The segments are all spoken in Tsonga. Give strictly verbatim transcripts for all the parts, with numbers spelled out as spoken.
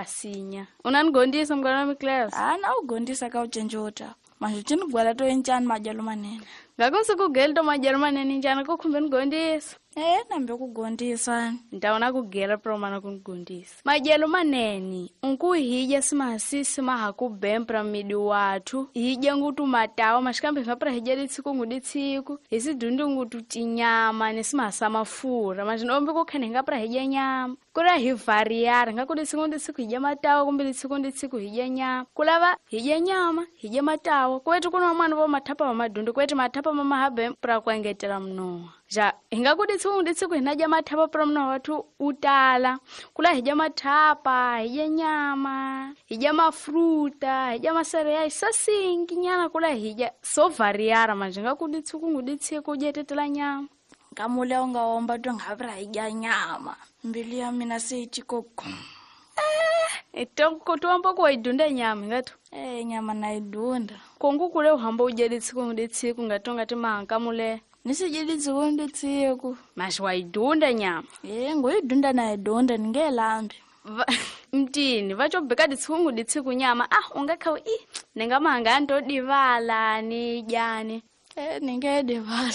Wasinya. Unanigondisa mngani wami Cleo? Ah, na ugondisa ka ucenjota. Manje chinigwala to enchani madyelo manene. Ngako sikugela to madyelo manene njani kukhumbe nigondisa. Eh, nambe kugondisa. Ndawona kugela pro mana kunigondisa. Madyelo manene, unkuhidya simasisi mahakubempra midi wathu. Hidya ngutu matawa mashikambe ngapra hidya litsiku nguditsiku. Hisidundu ngutu tinyama nesimasa mafura. Manje nombe kukhene ngapra hidya nyama. Kula hi variara ngakuditsiku nditsiku hidya matawa kumbe litsiku nditsiku hidya nyama. Kulava hidya nyama, hidya matawa. Kwetu kuno mwana vo mathapa va madundu kwetu mathapa mamahabe pra kuengetela mnowa. Ja, hingakuditsi nditsiku hinadya mathapa pra mnowa wathu utala. Kula hidya mathapa, hidya nyama, hidya mafruta, hidya masereali sasingi nyana kula hidya so variara manje ngakuditsi kunguditsiku udyetetela nyama. Nkamule ungaomba to ngavra hidya nyama. Mbilu ya mina seyitshikoko. Eh, tuomba kuwaidunda nyama ngatu. Eh, nyama naidunda. Kongu kule uhamba udya litsiku nguditsiku ngatonga timahankamule. Nisijilitsiku nditsiku. Mas waidunda nyama. Eh, ngoidunda naidunda ningelambi. Mtini, vachobheka ditsiku nguditsiku nyama. Ah, ungakhawu i ningamahanga ndodivala ni dyani. Eh, ningedivala.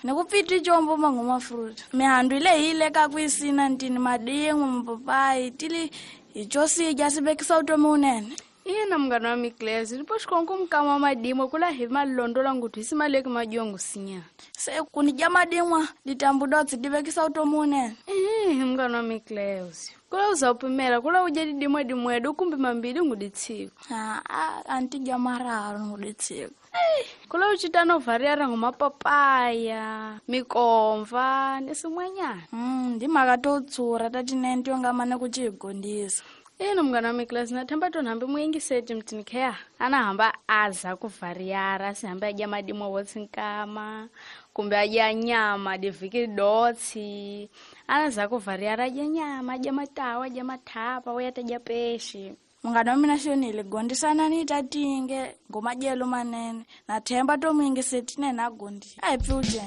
Nikupfiti chombo mangoma fruit. Mihandu ile ile kakuisina ntini madingu mapapai tili ichosidya sibekisa utomi unene. Ina mngani wami Cleo, ndipo xikongo mukama madimwa kula hi malondola ngutu hisimaleki madyongo sinya. Se kunidya madimwa ditambudotsi divekisa utomi unene. Eh, mngani wami Cleo. Kula uzawupimela kula udya didimwa dimwedu kumbe mambili nguditsiku. Ah, ah, antidya mararu nguditsiku. Eh, kula uchitano variara ngomapapaya, mikomva nesimwanyana. Mm, ndimhaka to tsura tatinene tiongamane kuchigondisa. Ina mngani wami Cleo, nathemba tonhambe muyingiseti mtini kheya. Anahamba aza kuvariara, asihambe adya madimwa wotsi nkama, kumbe adya nyama divhiki dotsi. Anaza kuvariara adya nyama, adya matawa, adya mathapa, uyatadya peshi. Munghana wa mina xonile gondisana ni tatinge ngomadyelo manene nathemba to muyingiseti nene agondisa. A hi pfi uje.